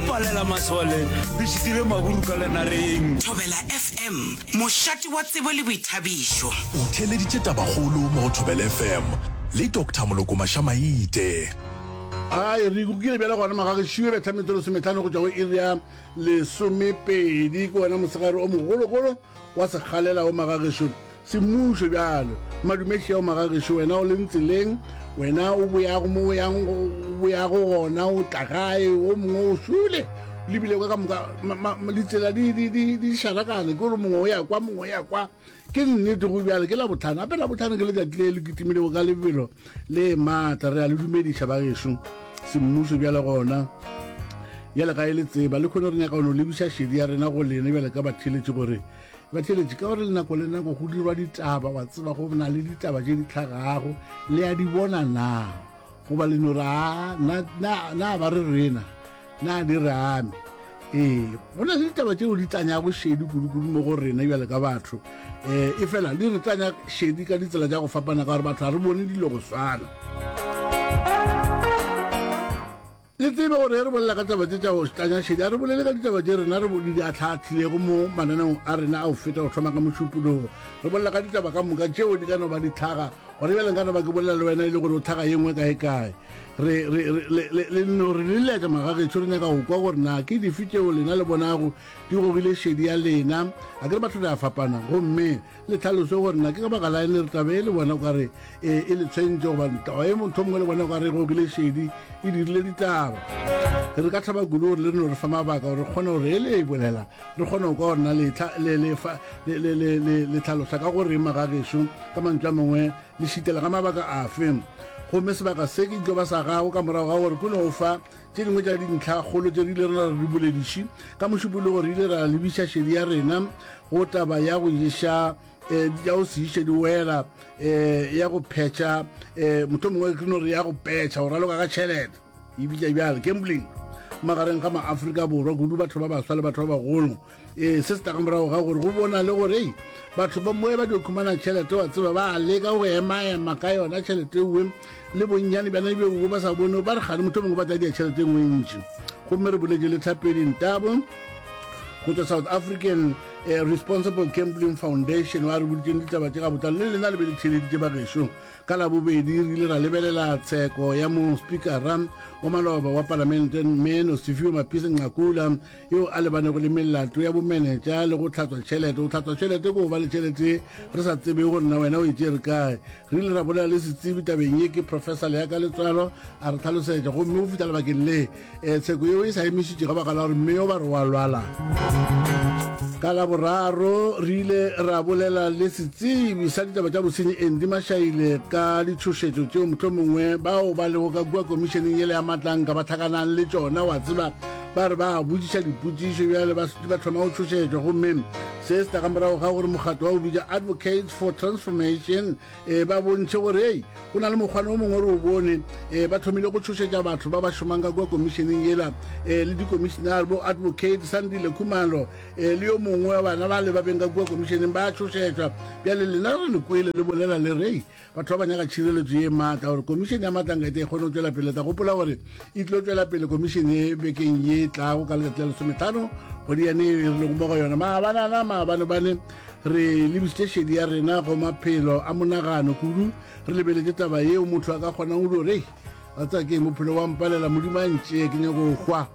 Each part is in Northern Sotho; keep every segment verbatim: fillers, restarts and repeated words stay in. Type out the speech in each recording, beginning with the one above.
palela masole re šitile maburu ka lenareng. Thobela F M, mošate wa tsebo le boithabišo. O theeleditše Tabakgolo mo go Thobela F M le Doctor Moloko Mašamaite. Ai, re kukile bjale gona magagešiwe betha metsotso lesometlhano go tšwa go iri ya lesomepedi. Ke wena mosegare o mogologolo wa sekgalela o magagešo semmušo bjalo madumešia o magagešo. Wena o leng tseleng, wena o boyago mo o yang o boyago gona, o tla gae, o mongwe o šule lebile ka moka ditsela di di di di šarakane, ke gore mongwe o ya kwa, mongwe o ya kwa. Ke nnete go bjale ke Labotlhano, gape Labotlhano ke letšatši le le kitimilego ka lebelo le maatla. Re a le dumediša bagešo semmušo bjale gona bjale ga e le tseba le kgone. Re nyaka go no lebiša šedi ya rena go lena bjale ka batheletši, gore batheletši ka gore nako le nako go dirwa ditaba, wa tseba go na le ditaba tše di tlhagago, le a di bona na goba le no re a na ba re rena na di re ame? Ee, go na le ditaba tšeo di tlanyago šedi kudu-kudu mo go rena bjale ka batho, um e fela di re tlanya šedi ka ditsela tša go fapana, ka gore batho ga re bone dilo go swana. Le tsebe gore re bolela ka taba tše tša go tlanya šedi, a re bolele ka ditaba tše rena re di atlhaatlhilego mo mananeong a rena a go feta go thoma ka Mošupologo. Re bolela ka ditaba ka moka tšeo di ka no ba di tlhaga gore bjale nka no ba ke bolela le wena e le gore o tlhaga ye nngwe kae kae. Re le no re leletša magagešo, re nyaka go kwa gore na ke dife tšeo lena le bonago di gogile šedi ya lena. A ke re batho re a fapana, gomme le tlhaloso gore na ke ka baka la eng re taba e le bona kare e le tshwentše, goba taba e motho mongwe le bona kare e gogile šedi, e dirile ditaba. Re ka thaba kudu gore le re no re fa mabaka gore re kgone gore e le e bolela, re kgone go kwa gore na le tlhalosa ka gore magagešo ka mantšu a mangwe le šitela ka mabaka afe. Gomme sebaka se ke tlo ba sa gago ka morago ga gore ke no fa tše dingwe tša dintlhakgolo tše re ile rena re di bolediše ka Mošupologo. Re ile ra lebiša šedi ya rena go taba ya go iša um ya go se iše diwela, um ya go phetša, um motho mongwe ke no re ya go petšha, go raloka ka tšhelete e bitša bjale gambling magareng ga Maafrika Borwa, kudu batho ba baswa le batho ba bagolo. um se se tla ka morago ga gore go bona le gore ei batho ba moe ba dio khumana tšhelete, wa tseba ba leka go emaema ka yona tšhelete ewe le bonnyane bjana beo ba sa bone, ba re gane motho mongwe ba tla dia tšhelete e nngwe ntši. Gomme re boletse le Tlhapedi Ntabo go tswa South African eh, Responsible Gambling Foundation, wa re boditseng ditaba tše ga botlalo le lena le be le theleditše bagešo. Ka Labobedi re ile ra lebelela tsheko ya mo speakera wa maloba wa palamente mme Nosiviwe Mapisa Nqakula, eo a lebanego le melato ya bomenetša le go tlhatswa tšhelete. Go tlhatswa tšhelete ke go ba le tšhelete re sa tsebe gore na wena o e tšere kae. Re ile ra bolela le setsebi tabeng ye, ke Professor Leaka Letswalo, a re tlhalosetša. Gomme go fihla lebakeng le um tsheko yeo e sa emišitše ka baka la gore mme yo ba re wa lwala. Ka Laboraro re ile ra bolela le setsebi sa ditaba tša bosenyi Andy Mashaile ka ditšhošetšo tšeo motlho mongwe bao ba lego ka kua komišeneng yele ya Matlanka ba tlhakanang le tšona. Wa tseba ba re ba botšiša dipotšišo bjale ba thoma go tšhošetšwa. Gomme se se tla ka morago ga gore mokgatlo wa go bitša Advocates for Transformation um ba bontšhe gore ei go na le mokgwane o mongwe re o bone, um ba thomile go tšhošetša batho ba ba šomang ka kua komišeneng yela, um le dikomišenare bo Advocate Sandile Khumalo um le yo mongwe wa bana ba le ba beng ka kua komišeneng ba tšhošetšwa. Bjale lena re le kwele le bolela le rei batho ba ba nyaka tšhireletšo ye maatla gore komišene ya Matlanka e te e kgone go tšwela pele. Tla gopola gore e tlo tšwela pele komišene ye bekeng ye tlago ka letšatši la lesometlhano kgwedi yane e re lego mo go yona. Maabanana maabane bane re lebisitše šedi ya rena go maphelo a monagano kudu, re lebeletše taba yeo motho a ka kgonang go dio rei wa tseba ke bophelo wa mpalela, Modimo a ntšee, ke nyako go hwa.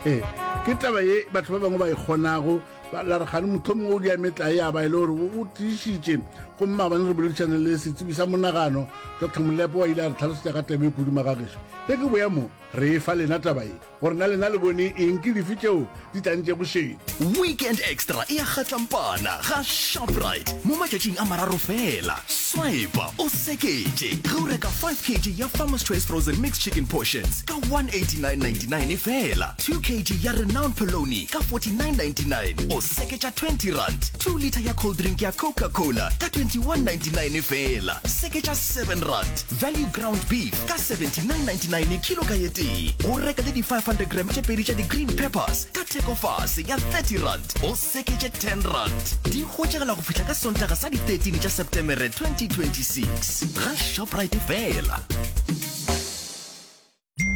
Ke taba ye batho ba bangwe ba e kgonago la re gane motho mongwe o dia metlae ya ba e le gore o tiišitše. Gomme maabane re boledišane le setsebi sa monagano Doctor Molepo, wa ile a re tlhalosetša ka taba e kudu magagešo. Ge ke boya mo re e fa lena taba ye gore na lena le bone eng, ke dife tšeo di tlantšego šedi. Weekend Extra e a kgatlampana ga Shoprite mo matšatšing a mararo fela. Swipe o seketše ge o reka five kilograms ya Farmer's Choice frozen mixed chicken portions ka one eighty-nine ninety-nine fela, two kilograms ya Renown Polony ka forty-nine ninety-nine, o seketša twenty rand, two litre ya cold drink ya Coca-Cola ka twenty-one ninety-nine fela, seketša seven rand, value ground beef ka seventy-nine ninety-nine kilo ka ye tee. O reka le di five hundred gram tše pedi tša di-green peppers ka theko fase ya thirty rand, o seketše ten rand. Di hwetšagala go fihla ka Sontaga sa di thirteen tša Septemere twenty twenty-six ga Shoprite fela.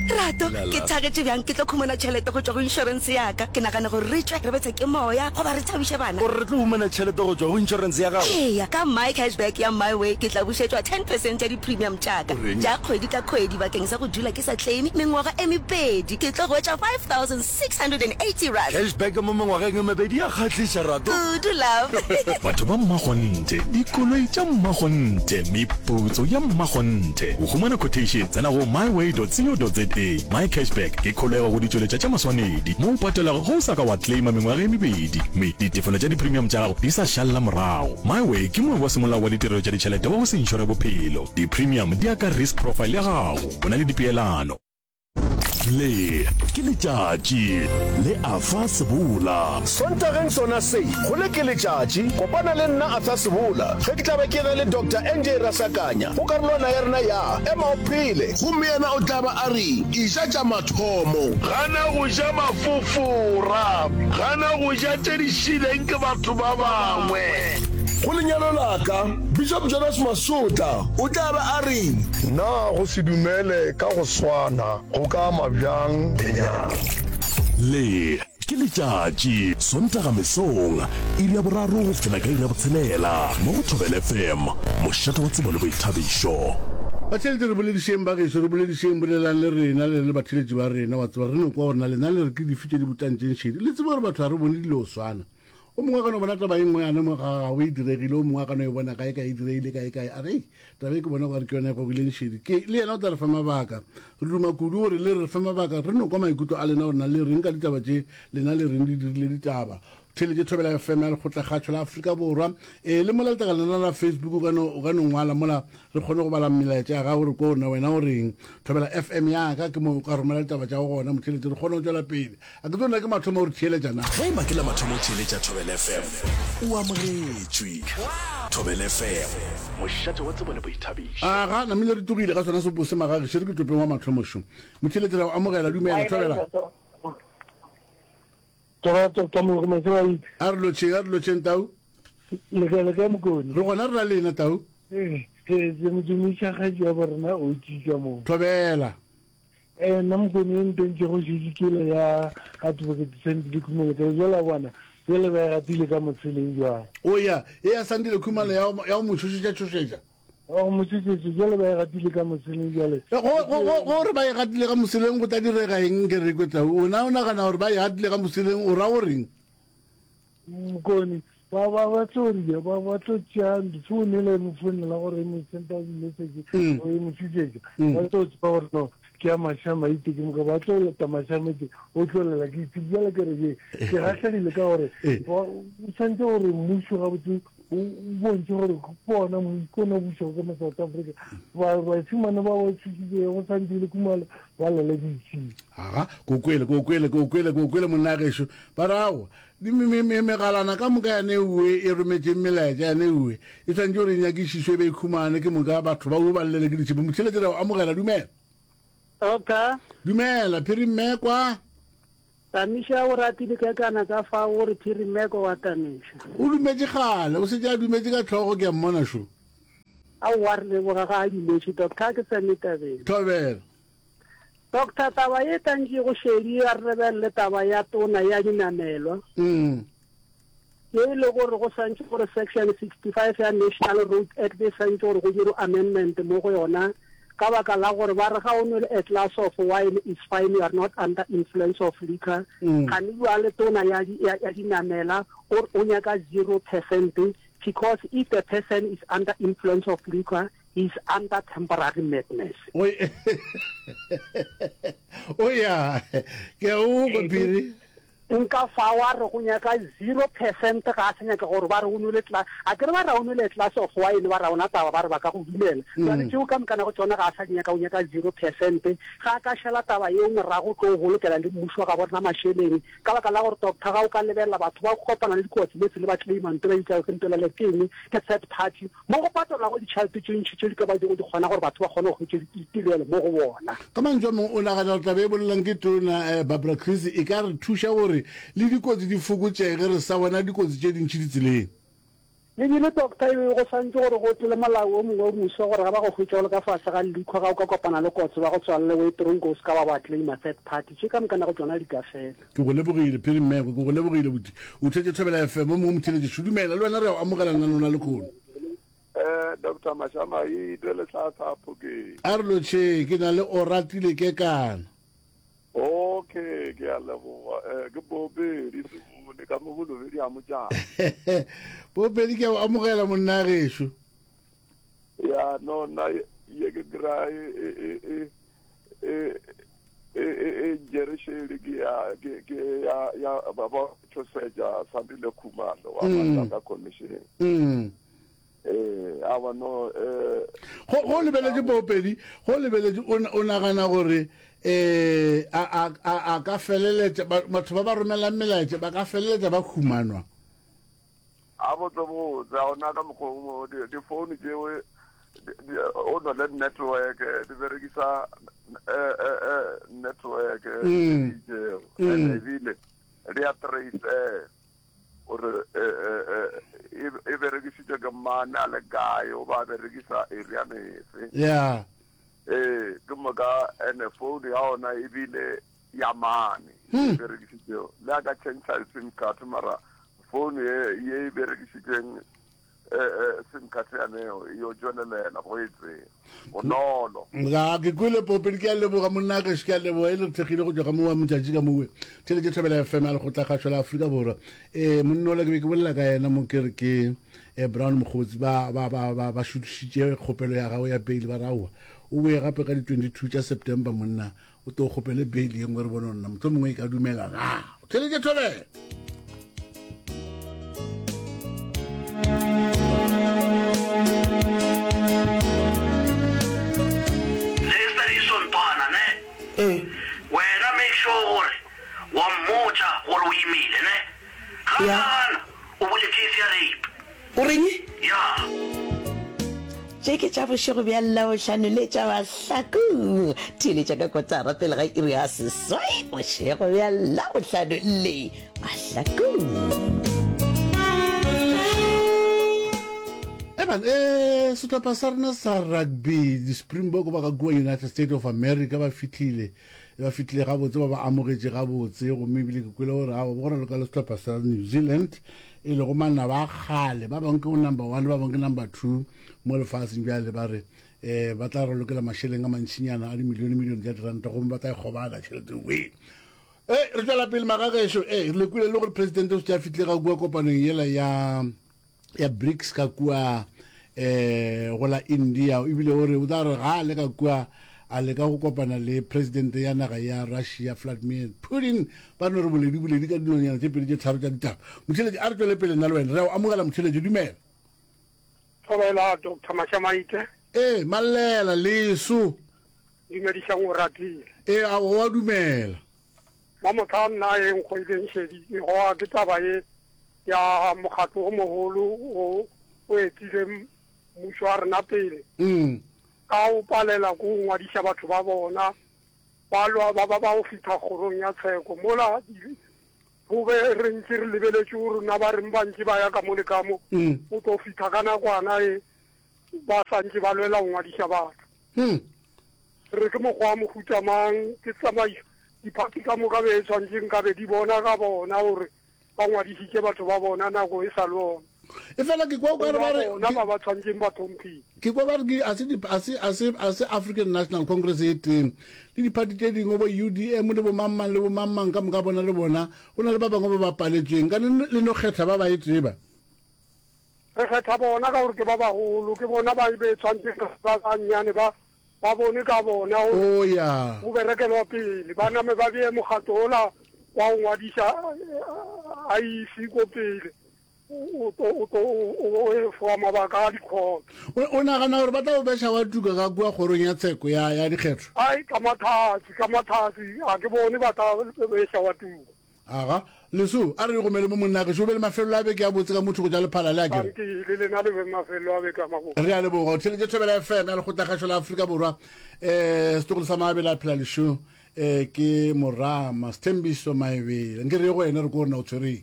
Rato, ke thagetše bjang ke tlo khumana tšhelete go tšwa go inšorense ya ka. Ke nagana gore re tšwe re bethe ke moya goba re thabiše bana. O re re tlo humana tšhelete go tšwa go inšorense ya gago? Eya, ka My Cash Back ya MiWay ke tla bušetšwa ten percent ya di-premium tša ka tša kgwedi ka kgwedi bakeng sa go dula ke sa claime mengwaga e mebedi. Ke tlo hwetša five thousand six hundred and eighty rand. Cash back mo mengwageng e mebedi ya kgahliša, Rato. Kudu, love. Batho ba mmakgonthe, dikoloi tša mmakgonthe, meputso ya mmakgonthe. Go humana quotation, tsena go myway dot co dot za. My Cashback ke kholego go ditšweletša tša maswanedi mo o patelago ge o sa ka wa claima mengwaga e mebedi mme ditefelo tša di-premium tša gago di sa šalela morago. MyWay ke moabi wa semolao wa ditirelo tša ditšhelete wa go se inšore bophelo. Di-premium di ya ka risk profile ya gago. Go na le dipeelano. Le ke letšatši le Arthur Sebola. Sontageng sona se, go le ke letšatši, kopana le nna Arthur Sebola ge ke tla be ke na le Doctor N J Rasakanya go karolwana ya rena ya Ema o Phele. Gomme yena o tla ba a re, Eja tša mathomo. Gana go ja mafofora. Gana go ja tše di šileng ke batho ba bangwe. Go lenyalo la ka, Bishop Jonas Masotla o tla ba a re. Na go se dumele ka go swana go ka ama bjang lenyalo? Le ke letšatši, Sontaga mesong, iri ya boraro go fihlela ka iri ya botshelela, mo go Thobela F M, mošate wa tsebo le boithabišo. Batheeletši re boledišeng ba gešo, re boledišeng, bolelang le rena, le le batheeletši ba rena, wa tseba, re no kwa gore na lena le re ke dife tše di botantšeng šedi. Le tsebe gore batho ga re bone dilo swana. O mongwe a ka no bona taba e nngwe yane mo ga gagwe e diregile, o mongwe a ka no e bona kae kae e diregile kae kae, a re, Ei, taba e ke bona gore ke yona e gogileng šedi. Ke, le yena o tla re fa mabaka. Re duma kudu gore le re fe mabaka, re no kwa maikutlo a lena gore na le reng ka ditaba tše, lena le reng di dirile ditaba. Theeletše Thobela F M ya Lekgotlakgatšo la Afrika Borwa. Ee, le mola letlakaleng la la Facebook o ka no, o ka no ngwala mola re kgone go bala melaetša ya gago re kwe gore na wena o reng. Thobela F M ya ka ke mo o ka romela ditaba tša gago gona, motheeletši, re kgone go tšwela pele. A ke tsebe na ke mathomo o re theeletša na? Ge e ba ke la mathomo o theeletša Thobela F M, o amogetšwe. Thobela F M, mošate wa tsebo le boithabišo. Aga, namile re tlogile ka sona seopo se magageše, re ke topeng wa mathomo šo. Motheeletši ra o amogela, dumela, Thobela. A re lotšheng, a re lotšheng, Tau. Le kae, le kae, Mokone? Re gona, re na lena, Tau. Ee, ke modumedi kgaetši ya borena o tšitša mo. Thobela. Eh, nna Mokone e ntentše go šetše kele ya Advocate Sandile Khumalo ka jwale a bona jwale ba e gatile ka motsheleng jwale. O ya, e ya Sandile Khumalo ya go, ya go mo tšhošetša tšhošetša. Wa go mo tšhošetša jwale ba e gatile ka motsheleng jwale. Go, go, go, gore ba e gatile ka moseleng go tla direga eng ke re kwe Tau? O na o nagana gore ba e gatile ka moseleng o ra goreng? Mokone, ba, ba, ba tlo ria, ba, ba tlo tšea difounu ele mo founela gore e mo senda di-message, Mm. o e mo tšhošetša. Mm. Ba tlo tseba gore no, ke ya Mashamaite, ke moka ba tlo leta Mashamaite, o tlo lela ke itse. Bjale ke re, ye, ke gahlegile ka gore, Eh. wa, o tshwanetse gore mmušo gabotse o, o bontšhe gore ke ona mmu-, ke ona o bušago ka mo South Africa. Ba, bašemane ba ba tšhošitše go Sandile Khumalo, ba lele ditšhila. Aga, ko kwele, ko kwele, ko kwele, ko kwele monna gešo. Ba re, aowa, di me, me, me, megalana ka moka yane ewe e rometšeng melaetša yane ewe e tshwanetse gore e nyakišišwe e be e khumane ke moka batho ba o ba llele ke ditšhipi. Motheeletši re o amogela, dumela. Okay. Dumela, Phiri Mmekwa. Tamiša o ratile ka kana ka fa o re Phiri Mmekwa wa Tamiša. O dumetše kgale, o setse a dumetše ka tlhogo ke a mmona šo. Aowa, re leboga ga a dumetše, doctor, ke tsene tabeng. Thobela. Doctor, taba ye tantše go šedi a re lebelele taba ya tona ya dinamelwa. Mm. Ye e le gore go swantše gore section sixty-five ya National Road Act e swantše gore go dirwe amendment mo go yona ka baka la gore ba re ga o nwele a glass of wine is fine, you are not under influence of liquor. Mm. Gane jwale tona ya di-, ya, ya dinamela o, o nyaka zero percent because if the person is under influence of liquor, he is under temporary madness. Oi. O ya, ke a o kwa Phiri. Nka fa wa re go nyaka zero percent ga a sa nyaka gore ba re o nwele tla-, a ke re ba re o nwele glass of wine, ba ra ona taba ba re ba ka go dumela. Mm. Jwale tšeo ka mokana go tsona ga a sa di nyaka, o nyaka zero percent. Ga a ka šala taba yeo morago tlo bolokela le mmušo ga bona mašeleng. Ka baka la gore doctor ga o ka lebelela batho ba kopana le dikotsi mo tsele ba claima ntho ba itsa ke ntho le ke eng, ke third party. Mo go patelwa go ditšhelete tše ntši tše di ka ba di go di kgona gore batho ba kgone go hwetša ditirelo mo go bona. Ka mantšu a mangwe o nagana gore taba e bolelang ke tona, eh, Barbara Creecy e ka re thuša gore le dikotsi di fokotšege, re sa bona dikotsi tše dintši ditseleng. Ebile doctor e be go swantše gore go tle le molao o mongwe o moswa gore ga ba go hwetša o le ka fase ga liquor ga o ka kopana le kotsi ba go tswalele o ye tronko o se ka wa ba claima third party tše ka mokana go tšona di ka fela. Ke go lebogile Phiri Mmekwe, ke go lebogile buti. O thetše Thobela F M, o mongwe motheeletši. Dumela, le wena re a go amogela lenaneo la lekhono. Eh, Doctor Mashamaite le tla Phokeng. A re lotšheng, ke na le Oratile Kekana. Okay, ke a leboga. Eh, ke Bobedi Sebone ka mo Bolobedi a Motšana. Bobedi ke a o amogela monna gešo. Ya no nna ye ke kry e e e e e e e njerešele ke ya ke ke ya ya ba ba tšhosetša Sandile Khumalo wa Mm. Matlaka Commission. Mm. Ee, awa no eh Go go lebeletše Bobedi, go lebeletše o o nagana gore eh a a a a ka feleletša batho ba ba romelang melaetša ba ka feleletša ba humanwa. A botse botse a ona ka mokgwa o mo di di phone tšeo o no le network di berekisa eh eh eh network Mm. tšeo Mm. and ebile di a trace eh gore e e berekisitšwe ke mane a le kae o ba berekisa area efe. Yeah. Ee, ke moka ene phone ya ona ebile ya mane e berekisitšego le a ka change sim card mara phone ye ye e berekisitšeng sim card yaneo e yo tšwelelela go e tseba bonolo. Ga ke kwele popedi ke a leboga monna gešo ke a leboga e le re thekgile go tšwa ka mowa motšatši ka mowe theletše Thobela F M ya lekgotlakgašo la Afrika Borwa um monna ola ke be ke bolela ka yena mo ke re ke eh, Brown Mokgotsi ba ba ba ba ba šutišitše kgopelo ya gagwe ya bail ba raowa o boe gape ka di twenty-two tša September monna o tlo kgopele bail ye nngwe re bone nna motho mongwe e ka dumela na theletše Thobela. Ee. Wena make sure gore wa mmotša gore o imile ne? Ga Ya. gana o bule case ya rape. O reng? Ya. Tše ke tša bošego bja Labohlano le tša Mahlakong. Theeletša ka kotara pele ga iri ya seswai bošego bja Labohlano le Mahlakong. Eban, eh, sehlopha sa rena sa rugby, di-Springbok ba ka kua United States of America ba fihlile, ba fihlile gabotse, ba ba amogetše gabotse, gomme ebile ke kwele gore aowa go raloka le sehlopha sa New Zealand, e lego manaba a kgale, ba bangwe ke bo number one, ba bangwe ke number two mo lefaseng. Bjale ba re eh ba tla ralokela mašeleng a mantšinyana a dimilione milione tša diranta, gomme ba tla e kgobana tšhelete we. Eh, re tšwela pele magagešo, eh re le kwele le gore presidente o šetše a fihlile ga kua kopanong yela ya ya BRICS ka kua eh go la India, ebile o re o tla re ga a le ka kua a leka go kopana le presidente ya naga ya Russia Vladimir Putin, ba no re boledi boledi ka dilonyana tše pedi tše tharo tša ditaba. Motheeletši a re tšwele pele nna le wena re a o amogela motheeletši, dumela. Thobela Doctor Mashamaite. Ee, Mallela leso. Dumedišang o ratile. Ee, a o a dumela. Mamotla nna e nkgoileng šedi e goa ke taba ye ya mokgatlo o mogolo o o etile mmušo wa rena pele. Mm. Ka o palela ko ngwadiša batho ba bona ba lwa ba ba ba o fihla kgorong ya tsheko mola go be re ntse re lebeletše gore rona ba reng ba ntse ba ya ka mo le ka mo Mm. o tlo fihla ka nakwana e ba sa ntse ba lwela go ngwadiša batho. Mm. Re ke mokgwa wa mohuta mang ke tsamaiso diphathi ka moka be e tshwanetse nkabe di bona ka bona gore ba ngwadišitše batho ba bona nako e sa le ona. E fela ke kwa o ka re ba re bona ba ba tshwanetseng ba tlhomphile. Ke kwa ba re ke a se di a se a se a se African National Congress e teng le diphathi tše dingwe bo U D M le bo mang-mang le bo mang-mang ka moka bona le bona go na le ba bangwe ba ba paletsweng ka le le no kgetha ba ba e tseba. Re kgetha bona ka gore ke ba bagolo, ke bona ba be tshwanetseng ba bannyane ba ba bone ka bona gore Oh ya. go berekelwa pele ba name ba bee mokgatlo ola wa go ngwadiša I E C ko pele o to o to o e foa mabaka a dikgotlo. O o nagana gore ba tla o beša wa tuka ka kua kgorong ya tsheko ya ya dikgetho? Ai ka mathatsi ka mathatsi a ke bone ba tla beša wa tuka. Aga leso a re gomele mo monna gešo o be le mafelelo a beke a botse ka motho go tša lephala le a kere. Ke le lena le be mafelelo a beke a mabotse. Re a leboga o theletše Thobela F M ya lekgotlakgašo la Afrika Borwa. Eh setlogolo sa Maabele a phela lešo eh ke Morama Sthembiso Maebele. Nke re ye go wena re ko rena o tshwereng.